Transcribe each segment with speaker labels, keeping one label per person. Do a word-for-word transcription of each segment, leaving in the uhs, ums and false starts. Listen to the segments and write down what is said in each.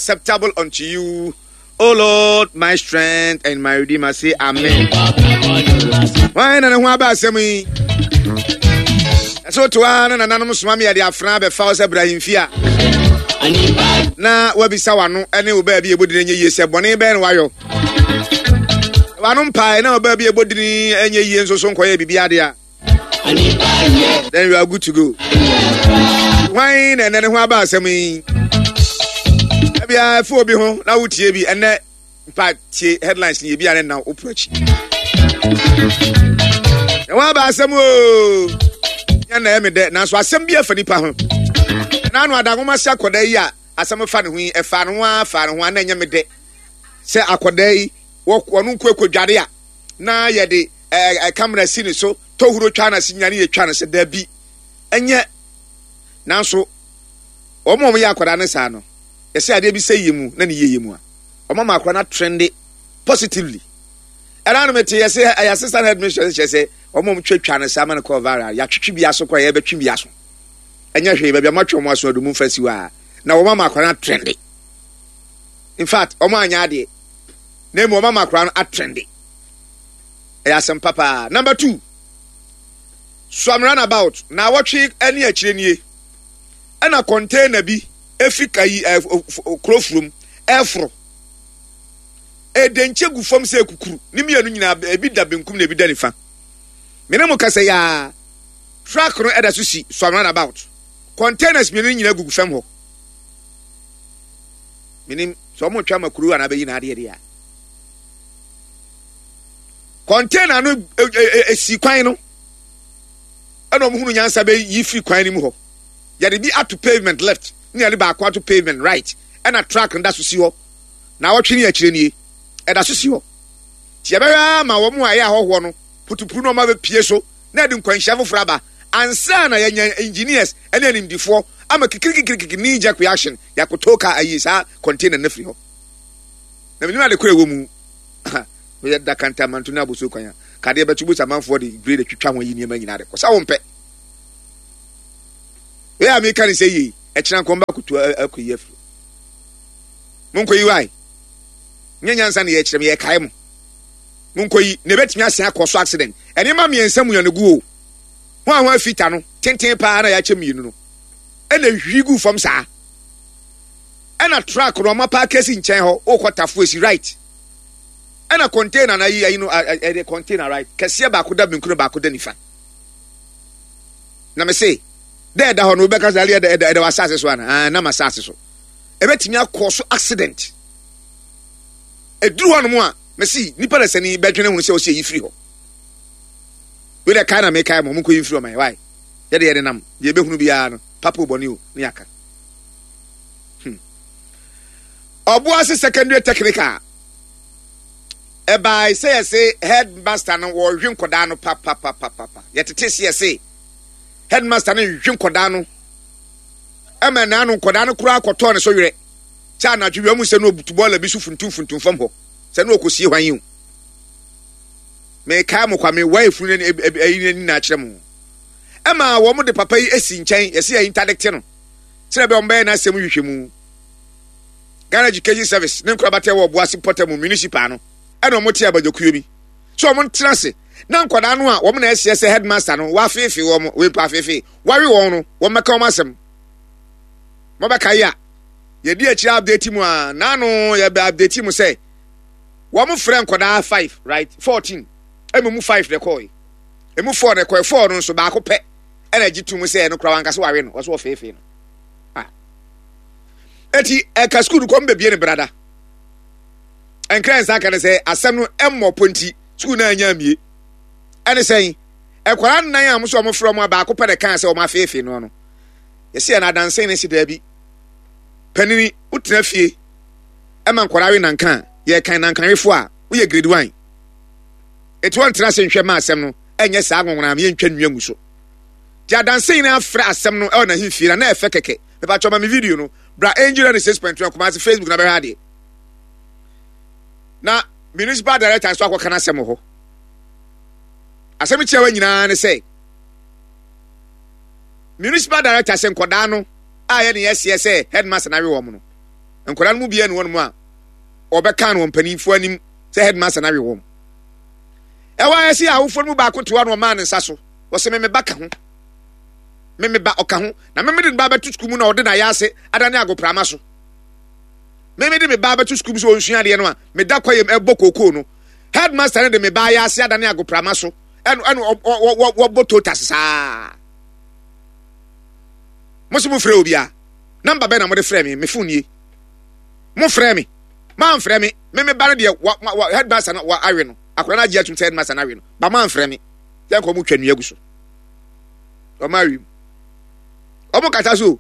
Speaker 1: Acceptable unto you, O Lord, my strength and my redeemer. Say amen. Why na ne ho aba asɛm yi? Ɛsɛ woto ara na nananom soma me yɛde afena bɛfa wo sɛ brahimfi a na wabisa w'ano ne wo baabi ɛbɔ dini nyɛ yie sɛ bɔne bɛn na wayɔ w'ano mpae na wo baabi ɛbɔ dini nyɛ yie nso so nkɔyɛ biribi adeɛ a, then you are good to go. Hwan na ɛnɛ ne ho aba asɛm yi? Ebia ɛfo obi ho na wotie bi ɛnɛ mpa tie headlines ni ebi a ne na wopro akyi. Na ho aba asɛm o. Nyɛ na ɛyɛ me dɛ, nanso asɛm bi afa nipa ho. Na ano adanwoma se akɔda yi a asɛm fa ne ho yi, ɛfa ne ho a fa ne ho a na ɛnyɛ me dɛ. Sɛ akɔda yi wɔn nko ekɔdware a na yɛde ɛɛ kamera si ne so tɔhuro twa na si nyane yɛ twa no sɛ dabi ɛnyɛ. Nanso wɔn a wɔyɛ akwadaa no saa no, yɛsɛ adeɛ bi sɛ yie mu na ne yie yɛ mu a wɔn ama akwadaa no atrende positively. Ɛna no mete yɛsɛ ɛyɛ assistant headmistress kyerɛ sɛ wɔn a wɔtwa twa no saa ma no kɔɔ viral, yɛatwitwi bi aso koraa, yɛbɛtwe bi aso, ɛnyɛ hwee, baabi a wɔatwe wɔn aso adu mu mfa si hɔ a na wɔn ama akwadaa no atrende. In fact, wɔn anyɛ adeɛ na emu wɔn ama akwadaa no atrende. Ɛyɛ asɛm papa. Number two, Suame Runabout na awɔtwe ne akyire nie ɛna container bi efi kayi ɛ kuro furom ɛforo ɛdɛnkyɛ gu fam sɛ ekukuru ne mmienu nyinaa, ebi da benkum na ebi da nifa. Mene mo kasa yaa, truck no ɛda so si Suame Runabout, containers mmienu nyinaa gugu fam hɔ. Menim sɛ wɔn retwa ma kuro anaa bɛyi n'adeɛ deɛ a container no esi kwan no ɛna wɔn hunu nyansa bɛ yi firi kwan no mu hɔ. Yɛde bi ato pavement left ne yɛde baako ato pavement right, ɛna truck no da so si hɔ na awɔtwe ne akyire nie ɛda so si hɔ. Tí yɛbɛhwɛ ama wɔn a ɛyɛ ahɔhoɔ no putupuru na wɔn abɛpie so na ɛde nkwanhyia foforɔ aba ansa na yɛnya engineers ɛne animdifoɔ ama kikirikikirikiri knee jerk reaction yɛakoto kaa ayi saa container no firi hɔ. Na menim ade koro ɛwɔ mu. Meyɛ da kantamanto ne abosuo kwan a kadeɛ bɛto bu sɛ amanfoɔ de grade twitwa ho ayi nneɛma nyinaa de kɔ sɛ wompɛ wei a meka ne sɛ yie ɛkyena nkɔm ba koto akɔyi afiri. Monkɔyi wae, nyɛ nyansa ne yɛkyerɛ me, yɛkae mo, monkɔyi na ɛbɛtumi asen akɔ so accident. Ɛnneɛma mmiɛnsa mu yɛn gu o ho a ho afita no tenten paa na yɛakyɛ mmienu no ɛna hwi gu fam saa, ɛna truck no ɔma paa kɛsi nkyɛn hɔ wokɔ tafo esi right, ɛna container na ayi ayi no ɛde container right kɛseɛ baako da benkum, baako da nifa. Na me se dɛ ɛda hɔ no wobɛka sɛ ɛda ɛda ɛda wɔ asase so ana? Ah, nam asase so ɛbɛtumi akɔ so accident. Ɛduru hɔ nom a me se nipa na sani bɛdwene ho sɛ ɔsi eyi firi hɔ. Wei dɛ kae na mekae mo, mo nkɔ yi mfiri hɔ ma yɛ wae. Yɛde yɛde nam deɛ ɛbɛhunu biara no papa bɔne o ne yɛaka hmm. Ɔboase Secondary Technical ɛbae sɛ yɛse headmaster no wɔhwe nkɔdaa no papapapapa. Yɛtete se yɛse headmaster no nhwe nkɔdaa no ɛma naano nkɔdaa no koraa kɔtɔɔ ne so werɛ kyɛ anadwo wia mu sɛ no obutu bɔɔla bi so funtum funtum fam hɔ sɛ no ɔkɔsie hwan yi o. Mekae mo kwa me wa efunu ne ɛyi n'ani na akyerɛ mo ɛma wɔn de papa yi esi nkyɛn, yɛsi yɛ interdict no sɛ ɛbɛ wɔn bɛyɛ n'asɛm hwehwɛ mu. Ghana Education Service ne nkorabata wɔ Ɔboase pɔtɛ mu municipal no ɛna wɔn te abadwakuo bi so wɔn ntena ase na nkwadaa no a wɔn na ɛseɛ sɛ headmaster no wafeefe wɔn, wempa afeefe wawe wɔn no, wɔn bɛka wɔn asɛm. Wɔbɛka yi a yɛdi akyire update mu a naano yɛbɛ update mu sɛ wɔn frɛ nkwadaa five right fourteen, ɛmu mu five na ɛkɔɔ yi, emu four na ɛkɔɛ, four no nso baako pɛ ɛna agye tum sɛ ɛno koraa wankasa wawe no, wɔso wɔfeefee no. Ah, eti ɛka sukuu no kɔm bebie ne brada nkran nsa aka ne sɛ asɛm no ɛmmɔ ponti sukuu no anya amie. Ɛne sɛn ɛkwara nnan a wɔn nso wɔn frɛ wɔn a baako pɛ na ɛka sɛ wɔn afeefee no no yɛsi yɛn adansen ne si daabi panini wotena fie ɛma nkwadaa we nanka yɛkan nankanwefo a woyɛ grade one eti wɔn tena ase nhwɛ ma asɛm no ɛnyɛ saa nwonwona mi yɛntwa nnua ngu so te adansen nyinaa frɛ asɛm no ɛwɔ n'ahemfie na na ɛfɛ kɛkɛ. Mepa ma me video no bra Angel ne six point two Kumasi Facebook na bɛhwɛ adeɛ na municipal director nso akɔka n'asɛm wɔ hɔ. Asɛm kyerɛ wɔ nyinaa ne sɛ municipal director sɛ nkɔdaa no a yɛ ne yɛseɛ sɛ headmaster na awe wɔn no Nkwadaa no mu biara ne wɔn mu a ɔbɛka no wɔn mpanimfoɔ anim sɛ headmaster no awe wɔn. Ɛwɔ ayɛ sɛ awofoɔ no mu baako te hɔ na ɔmaa ne nsa so. Wɔsɛ me me ba ka ho. Me me ba ɔka ho. Na me me de ne ba bɛto sukuu mu na ɔde n'ayɛ ase adane agoprama so. Me me de me ba bɛto sukuu mu sɛ ɔnsua adeɛ no a meda kwayam ɛbɔ kookoo no. Headmaster no de me ba ayɛ ase adane agoprama so. Ɛno ɛno wɔbɔ totas saa. Mo se mo frɛ obi a namba bɛn na mo de frɛ me? Me phone nie. Mo frɛ me. Mamfrɛ me. Me me ba no deɛ wa wa headmaster no wa awe no. Akwadaa no agye atum sɛ headmaster no awe no. Ba mamfrɛ me. Yɛn kɔ mo twa nnua gu so. Wɔn awe mu. Wɔn kasa so.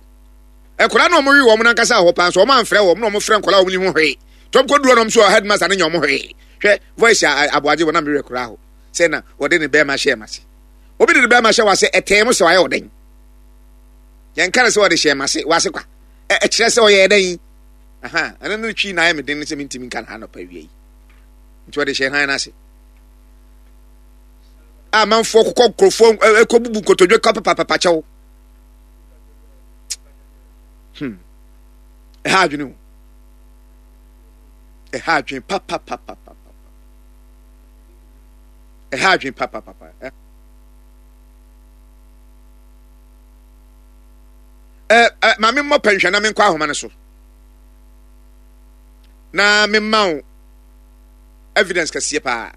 Speaker 1: Nkwadaa no wɔn we wɔn nankasa hɔ paa nso wɔn amfrɛ wɔn na wɔn frɛ nkwadaa wɔn ni ho hwee. Tɔm kɔ duro nom so headmaster no nyɛ wɔn hwee. Hwɛ voice a aboagye wɔn na mewɛ koraa hɔ. Sɛ na wɔde ne bɛrima hyɛ ma se. Obi de ne bɛrima hyɛ wase ɛtɛn mo sɛ wayɛ ɔdɛn. Yɛn ka no sɛ wɔde hyɛ ma se wase kwa. Ɛkyerɛ sɛ ɔyɛ dɛn. Aha, ɛno no twi na ayɛ me den sɛ mentumi nka no ha nɔpa awia yi. Nti wɔde hyɛ han no ase. Amanfoɔ kokɔ nkurɔfoɔ ɛkɔbubu nkotodwe kɔ pepapapa kyɛw. Hmm. Ɛha adwene o. Ɛha adwene papapapapa. Ɛha adwene papapapa. Ɛ ɛ maame mmɔ pɛnhwɛ na menkɔ ahoma no so. Na memma wo evidence kɛseɛ paa.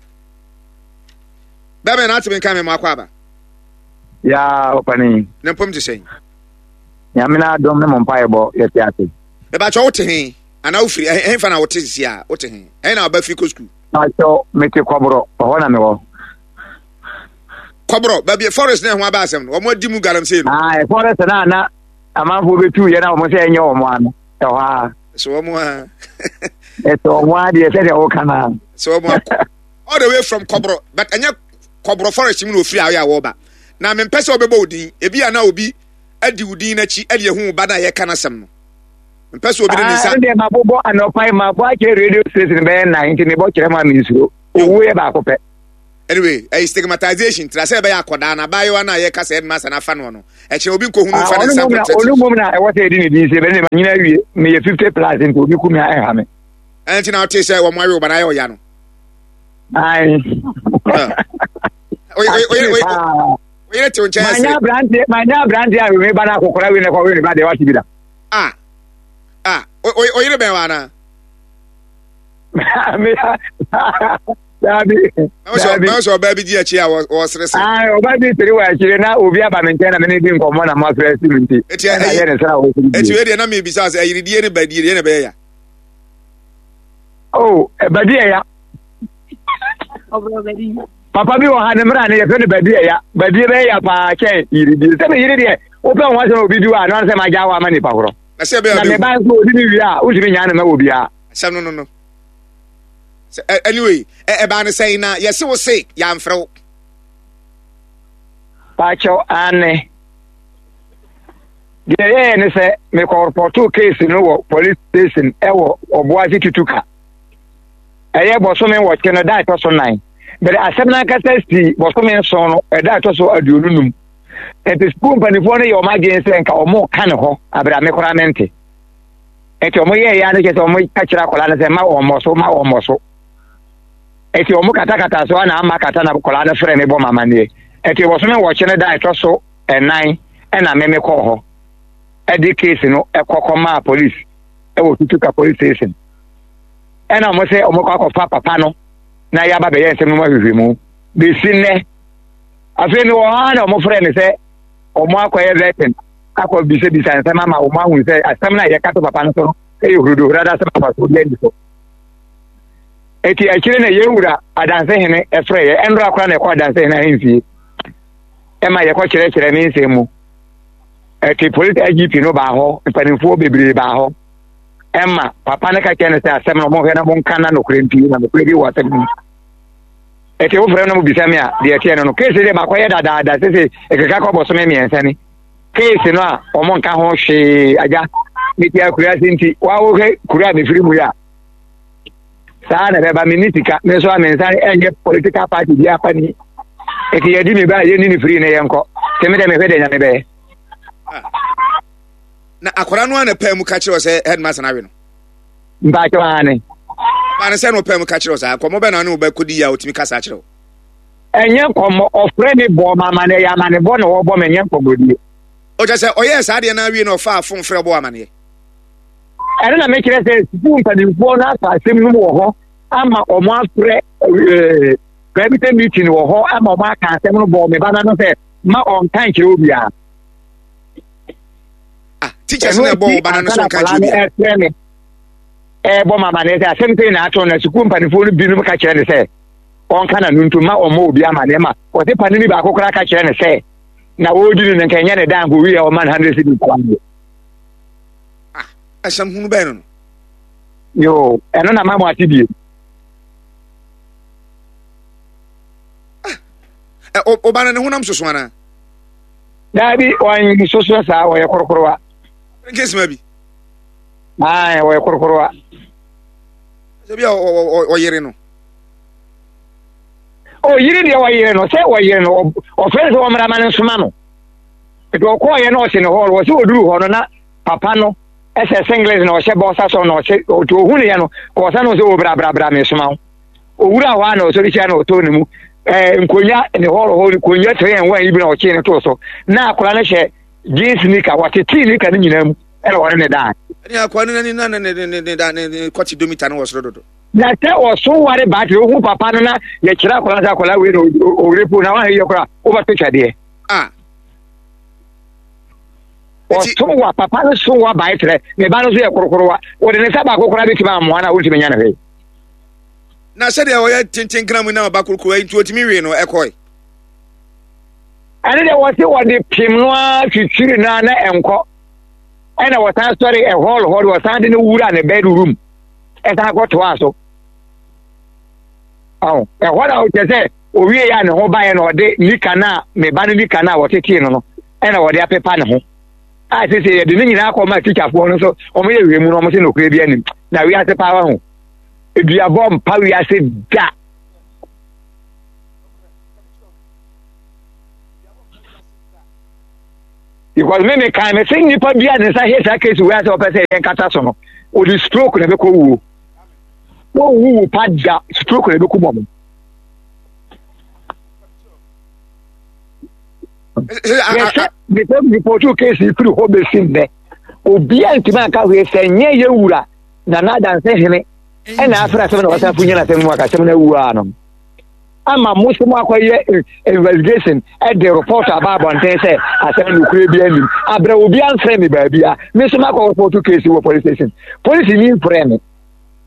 Speaker 1: Bɛbɛn na atumi nka me mo akɔ aba.
Speaker 2: Ya ɔpani.
Speaker 1: Ne mpom te sɛn?
Speaker 2: Nyame na adom ne mo mpaebɔ yɛte ase.
Speaker 1: Mebakyɛ wote he anaa wofiri ɛhefa na wote sisi a wote he ɛhe na ɔba firi kɔ sukuu?
Speaker 2: Bakyɛ mete Kɔborɔ, ɛhɔ na mewɔ.
Speaker 1: Kɔborɔ baabi forest na ɛho aba asɛm no wɔn adi mu galamsey no.
Speaker 2: Ah, forest na na amanfoɔ bɛtu yɛ na wɔn sɛ ɛnyɛ wɔn ano ɛhɔ a.
Speaker 1: So wɔn a.
Speaker 2: Ɛsɛ wɔn a deɛ sɛdeɛ wɔka na.
Speaker 1: So wɔn a all the way from Kɔborɔ, but ɛnyɛ Kɔborɔ forest mu na ofiri a ɔyɛ a wɔba. Na mempɛ sɛ ɔbɛbɔ wo din, ebi a na obi adi wo din n'akyi ɛde ehu wo ba na yɛka n'asɛm no. Mpɛ sɛ obi de ne nsa.
Speaker 2: Ah, ɛdeɛ mabobɔ anɔpa yi mabɔ akyerɛ radio station bɛyɛ nnan nti mebɔ kyerɛ mu a mensuro. Owuo yɛ baako pɛ.
Speaker 1: Anyway, ɛyɛ stigmatization tira sɛ ɛbɛyɛ akɔdaa na abaayewa no a yɛka sɛ headmaster no afa noɔ no, ɛkyerɛ obi nkɔhunu mfa ne nsa nkɔtɛ.
Speaker 2: Ɔno mmom na ɛwɔ sɛ yɛde ne din sɛ bɛne ma nyina awie meyɛ fifty plus nti obi ku me a ɛnha me.
Speaker 1: Ɛno nti na wote sɛ wɔn awe wo ba no ayɛ ɔya no.
Speaker 2: Ae.
Speaker 1: Oyere te wo nkyɛn
Speaker 2: ɛsere. Manya aberanteɛ manya aberanteɛ a wei ba no akɔkora wei na ɛkɔ wei ba deɛ wate bi da.
Speaker 1: Ah ah oyere bɛn wa anaa.
Speaker 2: Dabi.
Speaker 1: Dabi. Mɛ sɛ ɔbaa bi di akyi a wɔsere sere.
Speaker 2: Ayi ɔbaa bi sere wɔ akyire na obi aba mi nkyɛn na mi ne di nkɔmɔ na mo afrɛ si mi nti.
Speaker 1: Eti ɛyi
Speaker 2: yɛ ne sra wɔ
Speaker 1: sere. Eti wei deɛ na mi bisa sɛ ayiridie ne badie deɛ na ɛbɛyɛ ya.
Speaker 2: Oh, badie ya. Papa bi wɔ ha ne mmara ne yɛfrɛ no badie ya. Badie bɛyɛ ya paa kyɛn yiridie. Sɛ mi yiri deɛ wopɛ ho asɛm obi di hɔ a na sɛ ma gya hɔ ama nipa korɔ.
Speaker 1: Na sɛ ɛbɛyɛ
Speaker 2: na me ba nso odi ne wie a wotumi nyaa ne ma wɔ biara.
Speaker 1: Asɛm no no no. Anyway, ɛbaa ne sɛn na yɛse wo se yɛamfrɛ wo.
Speaker 2: Pakyɛw aane. Deɛ ɛyɛɛ ne sɛ mekɔ case no wɔ police station ɛwɔ Ɔboase Tutuka. Ɛyɛ bɔsome nwɔtwe no da ɛtɔ so nan. Bɛrɛ asɛm no ankasa si bɔsome nson no ɛda ɛtɔ so aduonu num. Nti sukuu mpanimfoɔ no yɛ wɔn adwene sɛ nka wɔn ka ne hɔ abere a me koraa mente. Nti wɔn yɛɛ ya no kyerɛ sɛ wɔn ka kyerɛ akwadaa no sɛ ma wɔn mmɔ so ma wɔn mmɔ so. Nti wɔn katakata so ana ama kata na akwadaa no frɛ me bɔ ma amaneɛ. Nti bɔsome nwɔtwe no da ɛtɔ so ɛnan ɛna me me kɔɔ hɔ ɛde case no ɛkɔ kɔmaa police ɛwɔ Tutuka police station. Ɛna wɔn sɛ wɔn kɔ akɔfa papa no na yɛaba bɛyɛ nsɛm no mu ahwehwɛ mu. Besi nnɛ afei mewɔ hɔ ara na wɔn frɛ me sɛ wɔn akɔyɛ vetting akɔ bisabisa nsɛm ama wɔn ahu sɛ asɛm no a yɛka to papa no so no ɛyɛ huruduhurada sɛ papa so obi ani so. Eti akyire na yɛn wura adanse hene ɛfrɛ yɛ ɛnora koraa na ɛkɔ adanse hene ahemfie ɛma yɛkɔ kyerɛkyerɛ ne nsɛm mu. Ɛti polisi I G P no baa hɔ, mpanimfoɔ bebree baa hɔ ɛma papa no ka kyerɛ no sɛ asɛm no monhwɛ na monka na nokorɛ mpie na nokorɛ bi wɔ asɛm no mu. Ɛti wofrɛ no bisa me a deɛ ɛteɛ no no keesi deɛ makɔyɛ dadaada sese ɛkeka kɔ bɔsome mmiɛnsa ni keesi no a wɔn nka ho hwee agya mete akura ase nti wawohwɛ kura a mefiri mu yi a saa na ɛbɛba menni sika me nso a me nsa ɛnyɛ political party bi apa ni ɛti yɛdi me ba a yɛnni ne firi ne yɛnkɔ sɛ me dɛ mehwɛ deɛ Nyame bɛyɛ.
Speaker 1: Na akwadaa no a na paa mu ka kyerɛ sɛ headmaster no awe no.
Speaker 2: Mpakyɛ ane.
Speaker 1: Ba ne sɛ no pɛ mu ka kyerɛ wo saa nkɔmmɔ bɛ na ne wobɛkɔdi yi a wotumi kasa kyerɛ wo?
Speaker 2: Ɛnyɛ nkɔmmɔ, ɔfrɛ me bɔ ma amanneɛ, ɛyɛ amanebɔ na wɔbɔ me, ɛnyɛ nkɔmmɔdie.
Speaker 1: Ɔkyɛ sɛ ɔyɛɛ saa deɛ no awie na ɔfaa fon frɛ bɔ amanneɛ.
Speaker 2: Ɛno na mekyerɛ sɛ sukuu mpanimfoɔ no afa asɛm no mu wɔ hɔ ama wɔn afrɛ ɛɛ private meeting wɔ hɔ ama wɔn aka asɛm no bɔɔ me ba no sɛ ma ɔnka nkyerɛ obiara.
Speaker 1: Ah, teachers na ɛbɔ wo ba no so nka nkyerɛ obiara.
Speaker 2: Ɛfrɛ me ɛbɔ ma amanneɛ sɛ asɛm sɛ na ato na sukuu mpanimfoɔ no binom ka kyerɛ no sɛ ɔnka na no nto ma ɔmmɔ obi amanneɛ ma ɔse panini baako koraa ka kyerɛ no sɛ na ɔredi no no nka ɛnyɛ ne dan nka owie a ɔma no hundred cedis koraa deɛ.
Speaker 1: Ah, asɛm hunu bɛn no no.
Speaker 2: Yo, ɛno na ma mo ate bie.
Speaker 1: Ah, ɔba no ne honam soso anaa?
Speaker 2: Daabi, ɔnsoso saa, ɔyɛ korokorowa.
Speaker 1: Nkesima bi.
Speaker 2: Ae, ɔyɛ korokorowa.
Speaker 1: Sɛ bi a ɔyere no.
Speaker 2: Ɔyere deɛ ɔyere no, sɛ ɔyere no, ɔfrɛ no sɛ ɔmmra ma no nsoma no. Nti ɔkɔɔyɛ na ɔte ne hɔ, wɔ sɛ ɔduru hɔ no na papa no ɛsɛ singlet na ɔhyɛ bɔsa sɔ na ɔhyɛ, ɔti ɔhu ne yɛ no, kɔɔsa no sɛ ɔbra bra bra mesoma wo. Owura hɔ a na ɔsɔre hyia na ɔtɔ ne mu. Ɛɛ nkonya ne hɔ hɔ nkonya three and one yi bi na ɔkyee no too so. Na akwadaa no hyɛ jeans nika, wɔtetee nika no nyinaa mu ɛna wɔne ne daa.
Speaker 1: Ɛne akwadaa no n'ani na ne ne ne ne da ne ne kɔte domita no wɔ soro dodo.
Speaker 2: Na sɛ ɔso ware baatiri ohu papa no na yɛkyerɛ akwadaa sɛ akwadaa wei na owure po na wahɛ yɛ koraa wobɛto twɛdeɛ.
Speaker 1: Ah.
Speaker 2: Ɔso wa papa no so wa baetrɛ ne ba no so yɛ korokorowa wɔde ne nsa baako koraa bɛtumi amoa no a wontumi nya no hwee.
Speaker 1: Na sɛdeɛ ɔyɛ tenten kra mu na ɔba korokorowa yi nti ɔtumi wee no ɛkɔe.
Speaker 2: Ɛne deɛ wɔse wɔde pem no ara twitwiri no ara na ɛnkɔ ɛna wɔsan sɔre ɛhɔl hɔ de wɔsan de no wura ne bedroom ɛsan kɔtoa so. Ɛhɔ na ɔkyɛ sɛ owie yɛ a ne ho baeɛ na ɔde nika no a me ba no nika no a wɔtetee no no ɛna wɔde apepa ne ho a sese yɛde ne nyinaa kɔ ma tikyafoɔ no nso wɔn yɛ wiem no wɔn sɛ nokorɛ bi anim na wiase paa ho eduabɔ mpa wiase da. Because me me kan me se nipa bi a ne nsa hye saa case wei asɛ ɔpɛ sɛ yɛn kata so no ɔde stroke na ɛbɛkɔ wuo wɔn wuwu pa da stroke na ɛbɛkɔ mɔmo. Yɛsɛ nipa ripɔtu case yi firi hɔ bɛsi nnɛ obiara ntumi anka hwee sɛ nyɛ yɛ wura na n'adanse hene ɛna afra asɛm na wɔsan fo nyɛ n'asɛm mu akasɛm no awu a no ama mo sɛ mo akɔyɛ investigation ɛde report aba abɔnten sɛ asɛm nokorɛ bi anim abrɛ obi amfrɛ me baabi a me nso makɔ report case wɔ police station police ni mfrɛ me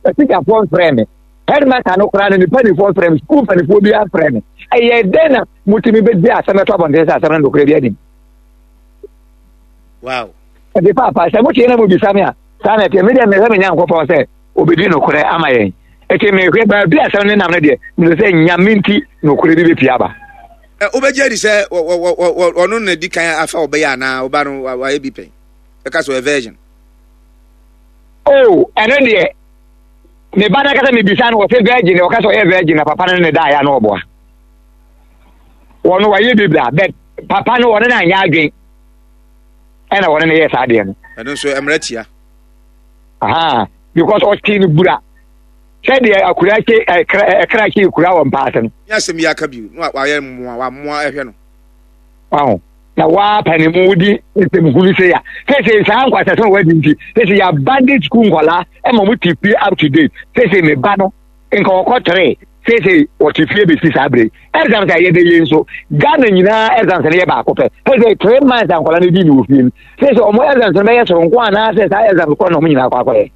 Speaker 2: atikyafoɔ mfrɛ me headmaster no koraa no ne panifoɔ mfrɛ me sukuu panifoɔ bi amfrɛ me ɛyɛ dɛn na motumi bɛdi asɛm ɛtɔ abɔnten sɛ asɛm no nokorɛ bi anim.
Speaker 1: Wow.
Speaker 2: Ɛde paapa sɛ motie na mobisa me a saa na ɛteɛ medeɛ mehwɛ me Nyankopɔn sɛ obɛdi nokorɛ ama yɛn ɛti mehwɛ baabi asɛm no nam no deɛ mesɛ sɛ Nyame nti nokorɛ bi bɛpie aba.
Speaker 1: Wobɛgye adi sɛ ɔno na di kan afa ɔbɛyɛ anaa ɔba no wayɛ bi pɛn ɛka sɛ ɔyɛ virgin?
Speaker 2: Oh, ɛno deɛ me ba no akasa mebisa no wɔsɛ virgin ɔka sɛ ɔyɛ virgin na papa no ne daeɛ na ɔboa wɔno wayɛ bi bra but papa no wɔne no anyɛ adwen ɛna wɔne no yɛ saa deɛ no.
Speaker 1: Ɛno nso mmerɛ tia.
Speaker 2: Aha, because ɔte no bura sɛdeɛ akura kye ɛkra ɛkra kye kura wɔ mpaase no.
Speaker 1: Ní asɛm yi aka bi no wayɛ mmoa wamoa ɛhwɛ no.
Speaker 2: Waho na waa ne mu wodi nsɛm hunu sɛ ya sɛsɛ saa nkwasasɛm a wadi nti sɛsɛ yɛ abandon school nkɔlaa ɛma mo te fie up to date sɛsɛ me ba no nka ɔkɔ tere sɛsɛ ɔte fie bɛsi saa bere exams a yɛde yɛ nso Ghana nyinaa exams no yɛ baako pɛ sɛsɛ three months a nkɔlaa no di ne wɔ fie no sɛsɛ ɔmo exams no bɛyɛ soronko anaasɛ saa exams kɔ na ɔmo nyinaa kɔ akɔyɛ.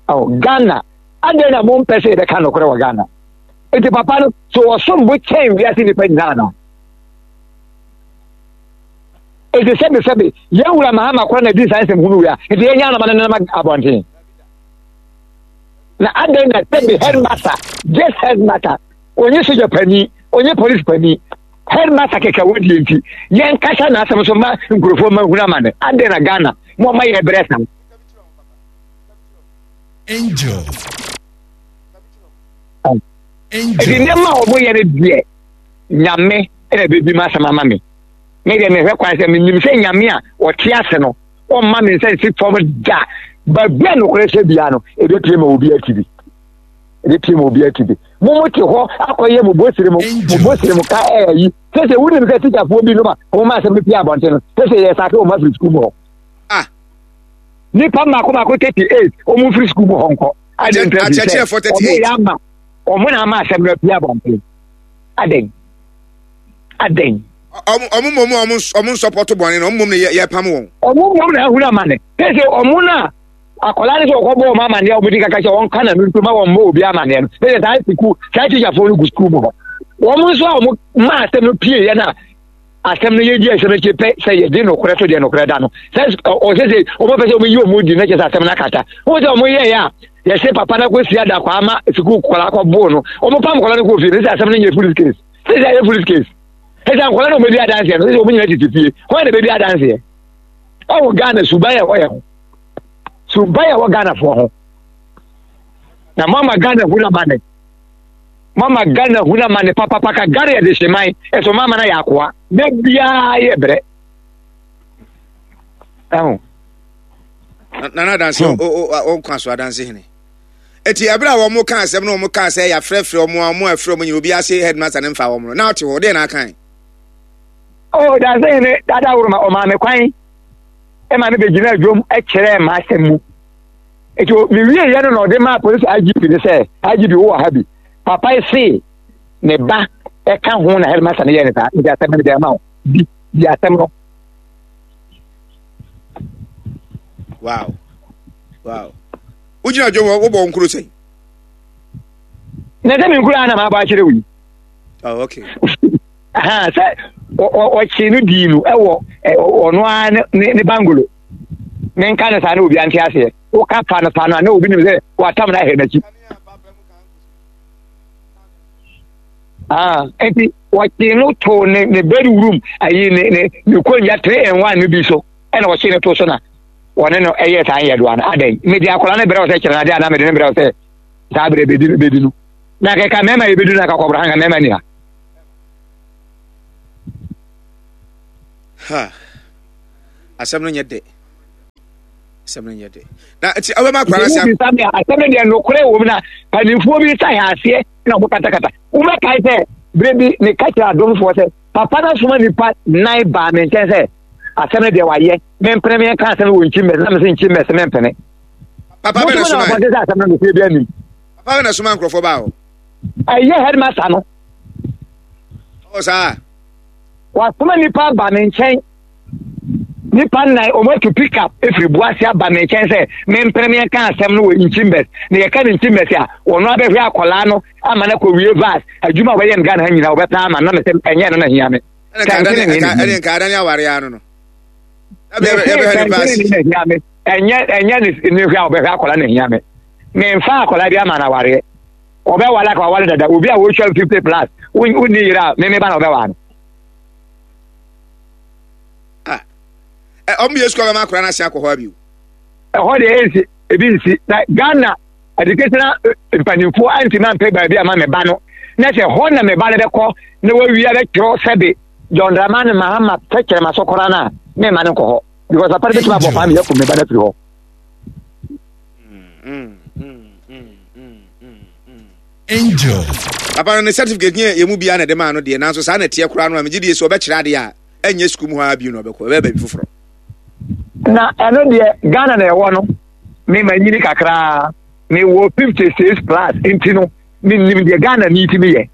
Speaker 2: Oh, Ghana adɛn na mompɛ sɛ yɛbɛka nokorɛ wɔ Ghana nti papa no so ɔsom bo kyɛn wiase nnipa nyinaa no ɛti sɛbe sɛbe yɛn wura Mahama kora na di saa nsɛm hunu wei a nti yɛnyɛ anama no nenam abɔnten na adɛn na sɛbe headmaster just headmaster onye soja pani onye police pani headmaster kɛkɛ wɔdie nti yɛnkasa n'asɛm so ma nkurɔfoɔ ma hunu ama no adɛn na Ghana mo ɔma yɛ brɛ saa.
Speaker 3: Angel.
Speaker 2: Ɛdi nneɛma a wɔyɛ no deɛ Nyame ɛna bɛbi ma asɛm ama me me deɛ mehwɛ kwan sɛ menim sɛ Nyame a ɔte ase no ɔmma me nsa nsi fam da Baabi a nokorɛ hyɛ biara no, ɛbɛpie ma obi ati bi. Ɛbɛpie ma obi ati bi. Mo mo te hɔ akɔyɛ mo bosire mo mo bosire mo ka ɛyɛ yi. Sɛ sɛ wonim sɛ tikyafoɔ bi nom a wɔn ma asɛm no pie abɔnten no, sɛ sɛ yɛ sake wɔn afiri sukuu mu hɔ.
Speaker 1: Ah.
Speaker 2: Nipa mmaako mmaako thirty eight wɔn mfiri sukuu mu hɔ nkɔ. Adi nta fi sɛ wɔn yɛ ama wɔn na ama asɛm no apue abɔnten. Adɛn? Adɛn?
Speaker 1: Ɔmo mmom ɔmo ɔmo nsɔpɔto bɔne no, ɔmo mmom na yɛ pam wɔn.
Speaker 2: Ɔmo mmom na ahuru amane. Sɛ sɛ ɔmo na akwadaa no sɛ ɔkɔbɔ wɔn amaneɛ a wɔn di kaka sɛ wɔn ka na no nso ma wɔn mmɔ obi amaneɛ no. Sɛ sɛ saa sukuu saa tikyafoɔ no gu sukuu mu hɔ. Wɔn nso a wɔn ma asɛm no pie yɛ na asɛm no yɛdi asɛm akyi pɛ sɛ yɛde nokorɛ to deɛ nokorɛ da no. Sɛ ɔsɛ sɛ wɔn pɛ sɛ wɔn yi wɔn di na kyɛ sɛ asɛm no akata. Wɔn sɛ wɔn yɛ yɛ a yɛsɛ papa no akɔsi adakɔ ama sukuu kɔla akɔboo no. Wɔn pam kɔla no kɔ fie no sɛ asɛm no nyɛ police case. Sɛ sɛ ɛyɛ police case. Ɛsɛ nkɔla na wɔbɛdi adanseɛ no sɛ wɔn nyinaa tete fie. Wɔn na bɛdi adanseɛ. Ɔwɔ Ghana suban a ɛwɔ yɛ ho. Suban a ɛwɔ Ghanafoɔ ho. Na mama Ghana hu na ma ne. Mama Ghana hu na ma ne papapa ka Ghana yɛ de hyeman. Ɛso mama na yɛ akoa. Da biara yɛ brɛ. Ɛho.
Speaker 1: Nana adanse o o o nkwa so adanse hene. Eti ɛberɛ a wɔn ka asɛm no wɔn ka sɛ yɛafrɛfrɛ wɔn a wɔn afrɛ wɔn nyina obi ase headmaster ne mfa wɔn no na ɔte hɔ deɛ na akan.
Speaker 2: Oh, danse hene dada woroma ɔmaa me kwan ɛma me bɛgyina adwom kyerɛɛ m'asɛm mu. Eti mewie yɛ no na ɔde maa polisi I G P ne sɛ I G P wowɔ ha bi. Papa yi se ne ba ɛka ho na headmaster no yɛ ne saa nti asɛm no de ama wo bi di asɛm no.
Speaker 1: Wow. Wow. Wogyina dwom hɔ wobɔ nkuro sɛn?
Speaker 2: Na sɛ me nkuro a na maabɔ akyerɛ wo yi.
Speaker 1: Oh, okay.
Speaker 2: Aha, sɛ ɔkye no dii no ɛwɔ ɔno ara ne ne bangolo. Menka no saa na obi ante aseɛ. Woka fa no fa no a na obi nim sɛ watam no ahɛ n'akyi. Ah, nti wɔkye no too ne ne bedroom ayi ne ne ne konwa three and one no bi so ɛna wɔkye no too so na wɔne no ɛyɛ saa nyɛdoa no adɛn mede akwadaa no brɛ wo sɛ kyerɛ no adeɛ anaa mede no brɛ wo sɛ saa berɛ bɛdi no bɛdi no na kɛka mmarima yɛbɛdu no akakɔbrɔ ha nka mmarima ni ha.
Speaker 1: Ha asɛm no nyɛ dɛ, asɛm no nyɛ dɛ na nti ɔbɛma akwadaa no sɛ
Speaker 2: asɛm no deɛ nokorɛ wɔ mu na mpanimfoɔ bi sa yɛ aseɛ na wɔn katakata wobɛkae sɛ berɛ bi meka kyerɛ adomfoɔ sɛ papa no asoma nipa nan baa me nkyɛn sɛ asɛm no deɛ wayɛ mempene me nka asɛm no wɔ nkyi mmɛs na mese nkyi mmɛs mempene.
Speaker 1: Papa bɛ na soma
Speaker 2: sɛ asɛm no nokorɛ bi anim.
Speaker 1: Papa bɛ na soma nkurɔfoɔ baa hɔ.
Speaker 2: Ɛyɛ headmaster no.
Speaker 1: Ɔ saa.
Speaker 2: Wasoma nipa aba me nkyɛn nipa nnan wɔn atu pick up efiri Buase aba me nkyɛn sɛ mempene me nka asɛm no wɔ nkyimɛs na yɛka ne nkyimɛs a wɔn abɛhwɛ akwadaa no ama no akɔ wie vas adwuma a wɔyɛ no Ghana ha nyinaa wɔbɛpɛ ama na mesɛ ɛnyɛ no na hia me.
Speaker 1: Ɛne nka adane aware ano no.
Speaker 2: Ɛnyɛ ɛnyɛ ne hwɛ a wɔbɛhwɛ akwadaa na hia me. Memfa akwadaa bi ama no awareɛ. Ɔbɛware aka waware dada obi a wɔtwa fifty plus wonni yere a meme ba na ɔbɛware no.
Speaker 1: Ɔmo yɛ sukuu abɛma akwadaa no ase akɔ hɔ abio.
Speaker 2: Ɛhɔ deɛ ɛnsi ebi nsi na Ghana educational mpanimfoɔ antumi ampɛ baabi ama me ba no na sɛ hɔ na me ba no bɛkɔ na wawia bɛtwerɛ sɛbe John Dramani Mahama tɛkyerɛma so koraa no a memma no nkɔ hɔ because papa no bɛtumi abɔ paa me akum me ba no afiri hɔ.
Speaker 1: Angel. Papa no ne certificate nyɛ yɛn mu biara na ɛde maa no deɛ, nanso saa na ɛteɛ koraa no a megye die sɛ ɔbɛkyerɛ adeɛ a ɛnyɛ sukuu mu hɔ ara bio na ɔbɛkɔ, ɛbɛyɛ baabi foforɔ.
Speaker 2: Na ɛno deɛ Ghana na ɛwɔ no, me ma nyini kakraa, mewɔ fifty six plus nti no menim deɛ Ghana ni ti meyɛ.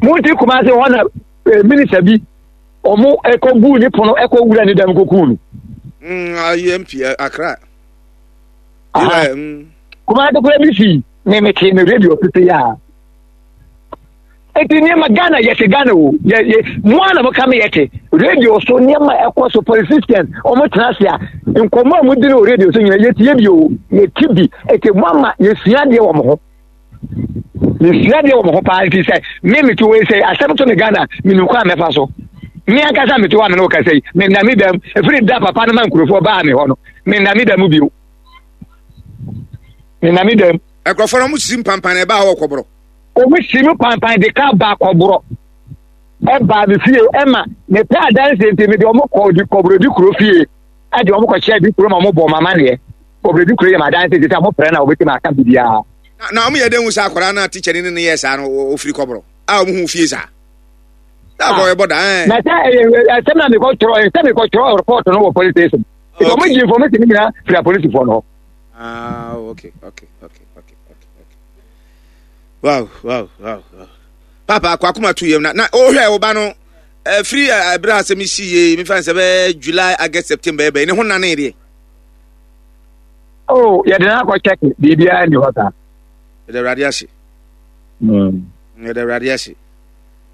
Speaker 2: Monte Kumase hɔ na eh, minista bi ɔmo ɛkɔ guu ne pono ɛkɔ wura ne dɛm kɔkuu no.
Speaker 1: Mm, ayi M P Accra.
Speaker 2: Kumase kura bi si me me te me radio tete ya. Eti nneɛma Ghana yɛte Ghana o yɛ yɛ mo a na mo ka me yɛte radio so nneɛma ɛkɔ so politicians wɔn tena ase a nkɔmɔ a mo di no wɔ radio so nyina yɛtie bi o yɛte bi eti mo ama yɛsua adeɛ wɔ mo ho yɛsua adeɛ wɔ mo ho paa nti sɛ me me te wɔ yi sɛ asɛm to me Ghana me nim kwan a mɛfa so me ankasa me te hɔ a me ne wo kasa yi me nna me dam efiri da papa no ma nkurɔfoɔ baa me hɔ no me nna me dam bio me nna me dam.
Speaker 1: Nkurɔfoɔ no wɔn sisi mpampan na ɛbaa hɔ kɔborɔ.
Speaker 2: Wɔn si mu pampan de ka ba kɔborɔ ɛbaa me fie ɛma mepɛ adanse nti mede wɔn kɔ di kɔborɔ di kuro fie ɛde wɔn kɔhyɛ di kuro ma wɔn bɔ wɔn amaneɛ. Ɔbɛdi kuro yɛ ma adanse ti sɛ mo frɛ na wɔbɛtumi aka biribiara.
Speaker 1: Na ɔmo yɛ dɛ hu sɛ akwadaa no a teacher ne ne yɛ saa no ofiri Kɔborɔ a ɔmo hu fie saa. Na akɔ ɛbɔ da ɛɛ.
Speaker 2: Na sɛ ɛyɛ ɛsɛm na mekɔ twerɛ, sɛ mekɔ twerɛ report no wɔ police station. Nti ɔmo gye information no nyinaa firi apolisifoɔ no hɔ.
Speaker 1: Ah, okay, okay, okay, okay, okay, okay. Wow, wow, wow, wow. Papa, akɔ akoma tu yam na na ɔhwɛ ɔba no ɛfiri ɛbrɛ asɛm si yie, mefa sɛ bɛyɛ July, August, September ɛbɛyɛ ne ho nane deɛ.
Speaker 2: Oh, yɛde no akɔ check, biribiara nni hɔ saa.
Speaker 1: Yɛde Awurade ase. Yɛde Awurade ase.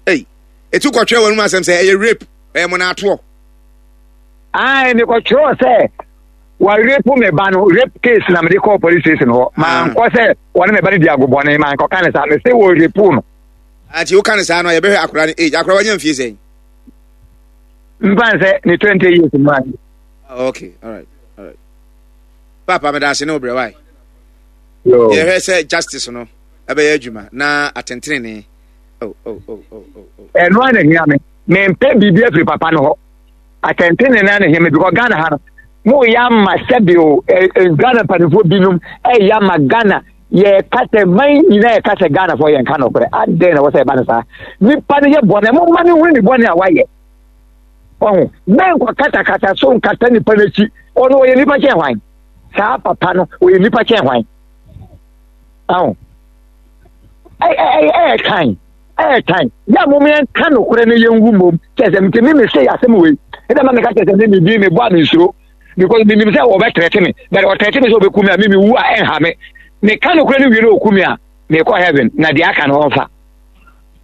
Speaker 1: Ei, etu kɔtwerɛ wɔn mu asɛm sɛ ɛyɛ rape, ɛyɛ mɔnaatoɔ.
Speaker 2: Ayi, mekɔtwerɛ sɛ wɔrape me ba no, rape case na mede kɔɔ police station hɔ. Mankɔ sɛ wɔne me ba no di agobɔne, mankɔka ne saa, mese wɔ rape no.
Speaker 1: Ati woka ne saa no, yɛbɛhwɛ akwadaa no age. Akwadaa wanya mfie sɛn?
Speaker 2: Mfa sɛ ne twenty years mu ade.
Speaker 1: Okay, all right, all right. Papa, meda ase ne wo brɛ wae. Yɛhwɛ sɛ justice no ɛbɛyɛ adwuma na atɛntenene. Oh, oh, oh, oh, oh, oh.
Speaker 2: Ɛno a na hia me. Mempɛ biribi afiri papa no hɔ. Atɛntenene na hia me because Ghana ha no, moyɛ ama sɛbi o, Ghana mpanimfoɔ binom ɛyɛ ama Ghana yɛka sɛ man nyinaa yɛka sɛ Ghanafoɔ yɛnka nokorɛ. Adɛn na wɔ sɛ ɛba no saa? Nipa no yɛ bɔne, momma no hunu ne bɔne a wayɛ. Ɔho, mɛnkɔ katakata so nkata nipa no akyi. Ɔno ɔyɛ nipa kyɛn hwan? Saa papa no ɔyɛ nipa kyɛn hwan? Ɔho, ɛyɛ kan, ɛyɛ kan. Yɛ a mom yɛnka nokorɛ no yɛnwu mmom. Kyɛ sɛ nti me me se asɛm wei. Ɛdɛ ma meka kyɛ sɛ me me bi mebɔ a mensuro. Because menim sɛ wɔbɛtrɛte me. But ɔtrɛte me sɛ ɔbɛku me a, me mewu a ɛnha me. Meka nokorɛ no wie na ɔku me a, mekɔ heaven na deɛ aka no ɔmfa.